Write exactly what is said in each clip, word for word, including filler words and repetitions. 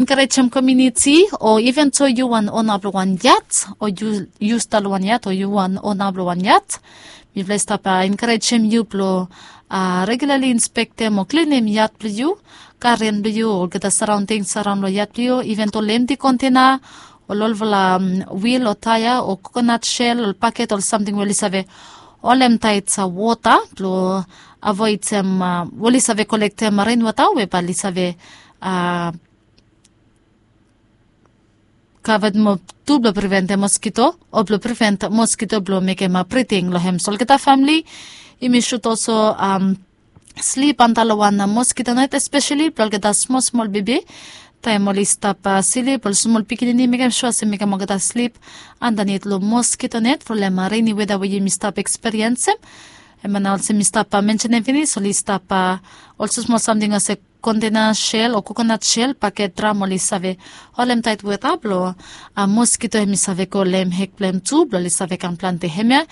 enkarejem komiuniti o iven so yu wan ona blong wan yat o yu yu stap long wan yat o yu wan ona blong wan yat, mifala i stap enkarejem yu blong regulali inspektem o klinim yat blong yu, garen blong yu o olgeta saraonding saraon long yat blong yu, iven to lemti kontena o lolfala wil o taia o kokonat sel o paket o samting we oli save holemtaet wota blong avoidem we oli save kolektem renwota we bae oli save kavet moa tu blong priventem moskito o blong privent moskito blong mekem briding long hem. So olgeta famili, yumi sut olso slip antap long wan moskito net, espeseli blong olgeta smol smol bebi. Taem oli stap slip ol smol pikinini, mekem sua se mekem olgeta slip andanit long moskito net from olgeta reni weda we yumi stap ekspiriensim. Hemia nao olsem mi stap mensenem finis, oli stap olsem smol samting olsem kontena sel o kokonat sel, paket, dram, oli save holemtaet wota blong moskito hemi save go long hem hek blong hem tu blong oli save kam plante. Hemia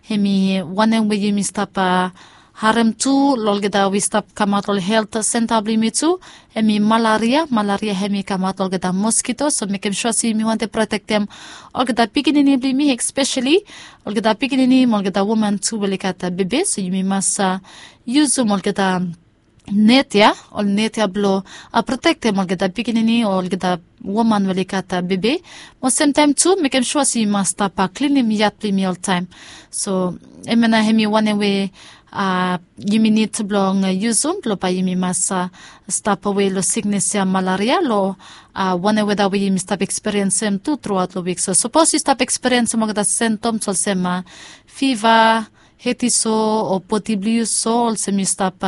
hemi wanem we yumi stap harem tu long olgeta we i stap kamaot long helt senta blong yumi tu, hemi malaria. Malaria hemi kamaot long olgeta moskito. So mekem sua se yumi wantem protektem olgeta pikinini blong yumi, espeseli olgeta pikinini mo olgeta woman tu we oli gat bebe. So yumi mas yusum olgeta net ya, ol net ya blong protektem olgeta pikinini o olgeta woman we oli gat bebe. Mo semtaem tu mekem sua se yumi mas stap klinim yat blong yumi oltaem. So hemia nao hemi wanem we yumi nid blong yusum blong bae yumi mas stap we long siknes ya malaria long wanem weda we yumi stap ekspiriensim tu truaot long wik. So sapos yu stap ekspiriensim olgeta sentoms olsem fiva, hedi so o bodi blong yu so olsem yu stap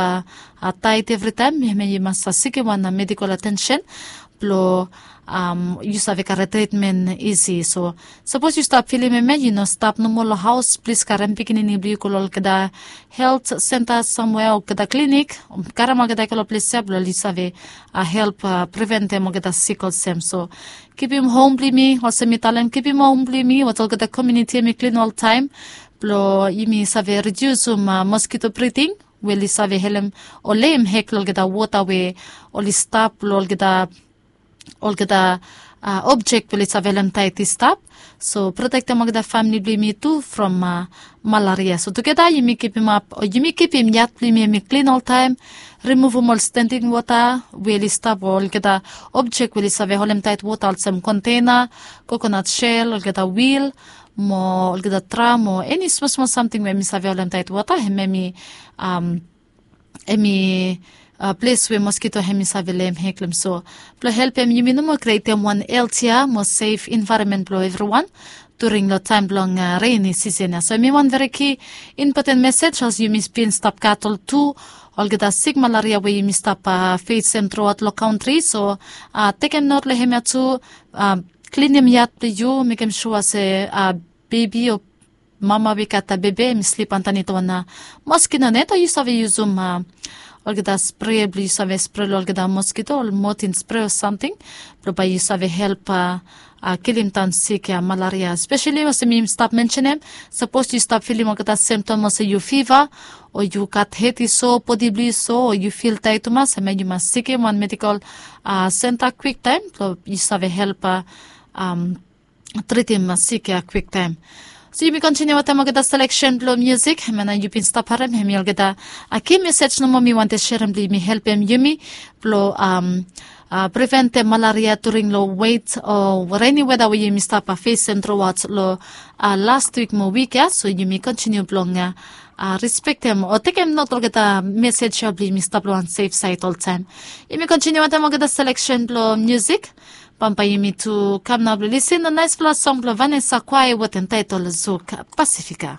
taet evritaem, hemia yu mas sikim wan medikol atensen blong yu save karem tritmen isi. So sapos yu stap filim hemia yu no stap nomo long haos, plis karem pikinini blong yu go long olgeta helt senta samwea, olgeta klinik, karem olgeta i go long ples ya blong oli save help priventem olgeta sik olsem. So kipim hom blong yumi, olsem mi talem, kipim hom blong yumi wetem olgeta komiuniti hemi klin oltaem blong yumi save ridiusum moskito briding we oli save helem o leim hek long olgeta wota we oli stap long olgeta olgeta objek we oli save holemtaet i stap. So protektem olgeta famili blong yumi tu from malaria. So tugeta yumi kipim ap o yumi kipim yat blong yumi hemi klin oltaem, rimuvum ol stending wota we oli stap o olgeta objek we oli save holemtaet wota olsem kontena, kokonat sel, olgeta wil mo olgeta dram o eni smosmol samting we hemi save holemtaet wota, hemi hemi ples we moskito hemi save leim hek long hem. So blong helpem yumi nomo krietem wan heltia mo sef envaeronmen blong evriwan during long taem blong reni sisen ya. So hemi wan veri ki impoten mesej olsem yumi bin stap gat ol tu olgeta sik malaria we yumi stap fesem truaot long kantri. So tekem not long hemia tu, klinim yat blong yu, mekem sua se bebi o mama we i gat bebe hemi slip andanit wan moskito net o yu save yusum olgeta spre blong yu save spre long olgeta moskito ol motin spre o samting blong bae yu save help kilim daon sik ya malaria. Speseli olsem mi stap mensenem, sapos yu stap filim olgeta semtom olsem yu fiva o yu gat hedi so, bodi blong yu so o yu fil taet tumas, hemia yu mas sikim wan medikol senta kwiktaem blong yu save help tritim sik ya kwiktaem. So yumi kontiniu wetem olgeta seleksen blong musik hemia nao yu bin stap harem, hemi olgeta ki mesej nomo mi wantem serem blong yumi helpem yumi blong priventem malaria during long wet o reni weda we yumi stap fesem truaot long las wik mo wik ya. So yumi kontiniu blong respektem o tekem not olgeta mesej ya blong yumi stap long wan sef saed oltaem. Yumi kontiniu wetem olgeta seleksen blong musik. Bambae yumi tu kam nao blong lisin long naesfala song blong Vanessa Quai wetem taetol Zuk Pasifika.